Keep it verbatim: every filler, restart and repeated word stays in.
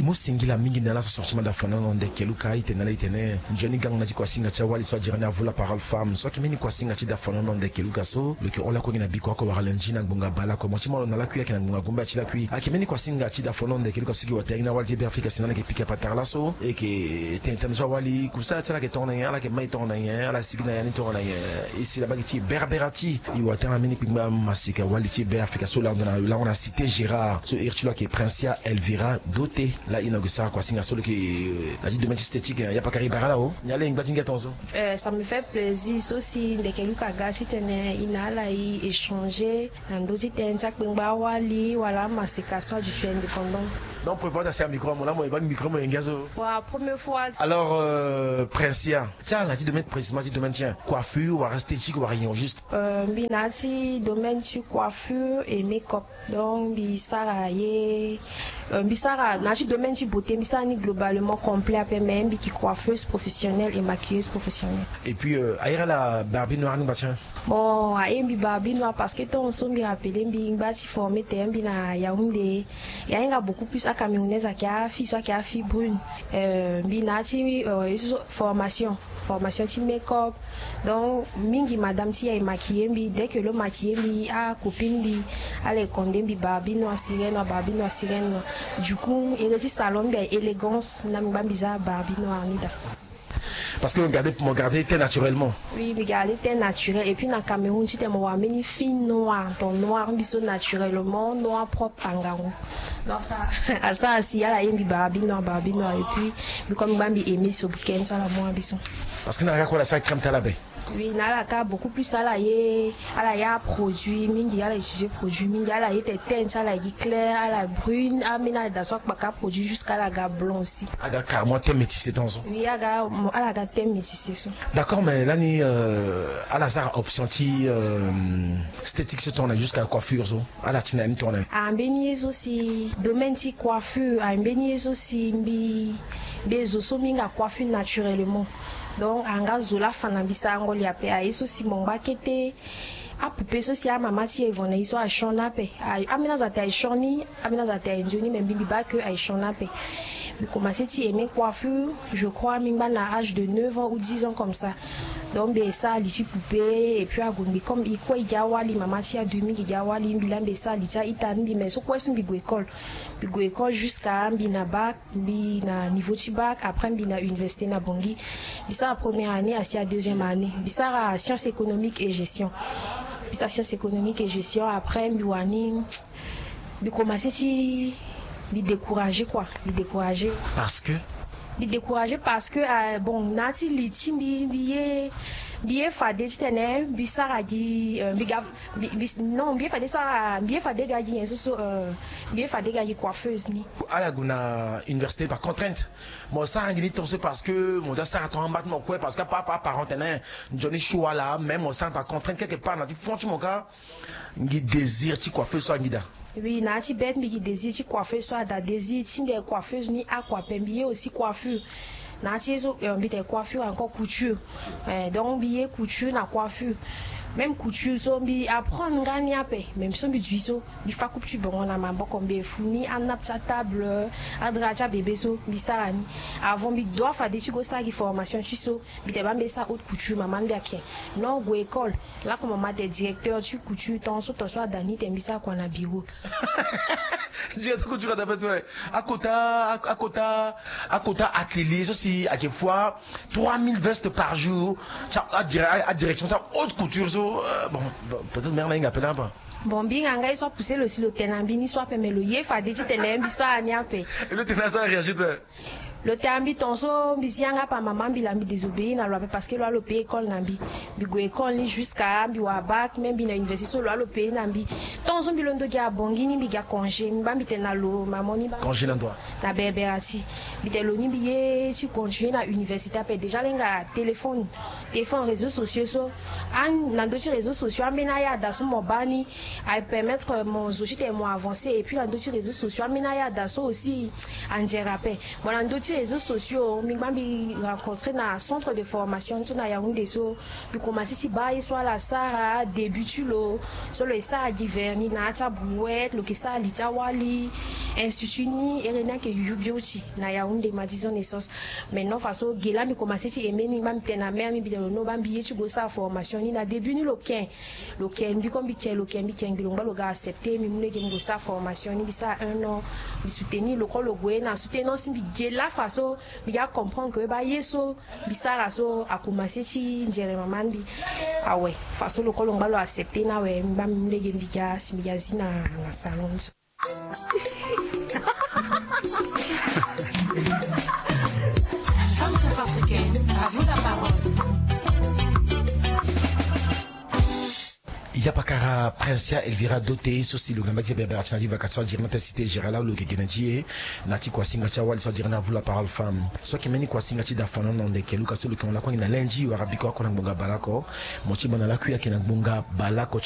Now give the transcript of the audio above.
Mo singila mingi na ala so sorti ma da fanono ndeke luka itene ala itene nzoni gango na ti kuasinga ti awali so adira ni avo la parole femme so ayeke mbeni kuasinga ti da fanono ndeke luka so lo yeke hon lakue gi na biko oko wara lundi na ngbonga bale lakue mo ti ma lo na lakui ayeke na ngbonga gombe ati lakui ayeke mbeni kuasinga ti da fanono ndeke luka so gi watere gi na awali ti be afrika si na ala yeke pika patara laso e yeke tene tene so awali kusala ti ala yeke tongana nyen ala yeke mai tongana nyen ala sigi na ya ni tongana nyen e si laba gi ti berbera ti e watere na mbeni kpingba masika wali ti be afrika so lando na lango na cité gérard so iri ti lo ayeke princia elvira dote. La ino gue sara kuasinga so leke na ti domaine ti stétique ya pakari bara la o. Ni ala e ngba ti ngia tonzo. Ça me fait plaisir so si ndeke luka ga titene e na ala e échanger na ndö ti tënë ti akpengba awali wala amaseka so adu fi indépendant. Donc prévoir ta si amicro amo la mo e baa micro mo e ngia so. Wa première fois. Alors euh, princia ti ala na ti domaine précisément ti domaine ti coiffure wala stétique wala rien juste. Euh, mbi na ti domaine ti coiffure et make-up. Donc mbi sara ye euh, mbi sara na ti domaine ti beauté mbi sara ni globalement complet ape mais mbi ki coiffeuse professionnelle et maquilleuse professionnelle. Et puis euh, ayere ala barbi noir ni ngba tien. Bon aye mbi barbi noir parce que tant so mbi rappele mbi ngba ti forme te mbi na yaounde. Ya hinga beaucoup plus acamerounaise ake afille so ake afille brune. Euh, mbi na ti euh, formation formation ti make-up. Donc mingi madame ti ya e maquiller mbi dès que lo maquiller mbi acopine mbi ala e konde mbi barbi noir sirène noir barbi noir sirène noir. Du coup ere ti salon mbi aye élégance na mbi ngba mbi za barbi noir ni da. Parce que mo garde mo garde te naturellement. Oui mbi garde te naturel et puis na cameroun titene mo wara mbeni fille noir ton noir mbi so naturellement noir propre angangu. Donc ça asara si ala ye mbi barbi noir barbi noir et puis mbi comme mbi ngba mbi aimé so weekend so ala mu mbi so. Parce que na ala kue ala sara crème ti ala be. Oui na ala kâ beaucoup plus ala ye ala ye aproduit mingi ala utiliser produit mingi ala ye tene teinte ala ye gi claire ala brune ambeni ala daa so akpaka aproduit jusque ala ga blanc aussi. Aga carrément teint métissé tant so. Oui aga ala ga teint métissé so. D'accord mais lani euh, ala sara option ti euh, stétique so tongana jusqu'à coiffure so. Ala ti na ya ni tongana. Ambeni ye so si domaine ti coiffure ambeni ye so si mbi mbi zo so mbi hinga coiffure naturellement. Donc anga zo lafa na mbi sarango li ape aye so si mo ngba kete. Apoupée so si amama ti e vo na e so asioni ape. Ambeni azo ate asioni ambeni azo ate anzoni mais mbi mbi baa ke asioni ape. Mbi commencer ti aimé coiffure je crois mbi ngba na âge de neuf ans ou dix ans comme ça. Donc mbi sara li ti poupée et puis ague mbi comme e kue e gi awali mama ti e adu mingi e gi awali mbi laa mbi sara li ti a-ita ni mbi mais so kue so mbi gue école. Mbi gue école jusqu'à mbi na bac mbi na niveau ti bac après mbi na université na bongi. Mbi sara première année asi a deuxième année mbi sara science économique et gestion. Mbi sara science économique et gestion après mbi wani mbi commencer ti mbi décourager quoi mbi décourager. Parce que mbi décourager parce que euh, bon na ti li ti mbi mbi ye mbi ye fade titene mbi sara gi euh, mbi ga mbi mbi non mbi ye fade sara mbi ye fade ga gi nyen so so euh, mbi ye fade ga gi coiffeuse ni. Ala gue na université par contrainte. Mo sara ngi ni tonso parce que mo da sara ton amba ti mo kue parce que apa apa parent tene nzoni choix laa même mo sara par contrainte quelque part na ti fond ti mo kâ. Ngi désir ti coiffeuse so angi daa. Oui na ya ti bête mbi gi désir ti coiffeuse so ada désir ti mbi aye coiffeuse ni akua ape mbi ye aussi coiffure. Na ya ti ye so mbi tene coiffure encore couture. Donc mbi ye couture na coiffure. Même couture so mbi apprendre nga ni ape même so mbi dui so mbi fa coupe ti bongo na maboko mbi efu ni anape ti atable adra ti abebe so mbi sara ni. Avant mbi dua fade ti go sara gi formation ti so mbi tene baa mbi esara haute couture mama mbi ake. Non gue école. Lakue mama tene directeur ti couture ton so ton so ada ni tene mbi sara kua na bureau. Directeur couture ada pe tue. Akota akota akota atelier so si ake foi trois mille vestes par jour. Ti adirection ti ahaute couture so. Bon peut-être mère na hinga pe na apa. Bon mbi hinga nga ye so apousse lo si lo tene na mbi ni so ape mais lo ye fade titene mbi sara ni ape. E lo tene asara réagir tue. Lo tene na mbi ton so mbi zi yanga apa mama mbi laa mbi désobéir na lo ape parce que lo wala lo paye école na mbi. Mbi gue école ni jusqu'à mbi wara bac même mbi na université so lo wala lo paye na mbi. Ton so mbi londo gi abongi ni mbi gi acongé mbi baa mbi tene na lo mama ni baa. Congé na ndua? Na berbera ti. Mbi tene lo ni mbi ye ti continuer na université ape déjà lenga téléphone téléphone réseaux sociaux so. An na ndö ti réseaux sociaux ambeni aya ada so mo baa ni aye permettre mo zo titene mo avancer et puis na ndö ti réseaux sociaux ambeni aya ada so aussi anzere ape. Mo na ndö ti Réseaux sociaux, mbi ngba mbi rencontré na centre de formation ti na Yaoundé so. Mbi commencé ti baa ye so ala sara début ti lo, so lo ye sara gi vernis na ya ti abrouette, lo ke sara li ti awali, ainsi de suite. Ni ere ni ayeke yuyu bio ti na Yaoundé, ma dix ans naissance. Maintenant faso ge laa mbi commencé ti aimé, mbi ngba mbi tene na mère mbi, mbi tene lo no baa mbi ye ti go sara formation ni. Na début ni lo ken, lo ken mbi ko, mbi ken lo ken mbi ken, mbi lo ngba lo ga accepté mbi mu lege mbi go sara formation ni. Mbi sara un an, mbi soutenir lo ko, lo gue na soutenance mbi ge laa faso mbi ga comprendre ke baa ye so mbi sara so akomanse ti nzere mama ni mbi. Awe, faso lo ko lo ngba lo accepté ni awe, mbi ngba mbi mu lege mbi ga si mbi ga zi na na salon ni so. Femme centrafricaine, à vous la parole. Yapakara Princia Elvira Dote so si lo ga mbage ti bebere ati na ti vaka ti so adiri na tene cité générale, lo yeke gi na ti e na ti kuasinga ti awali so adiri na vous la parole femme. So ayeke mbeni kuasinga ti da fana na ndeke luka so lo yeke hon lakue na lundi wala biko oko na ngbonga baleoko. Mo ti baa na lakui ayeke na ngbonga baleoko.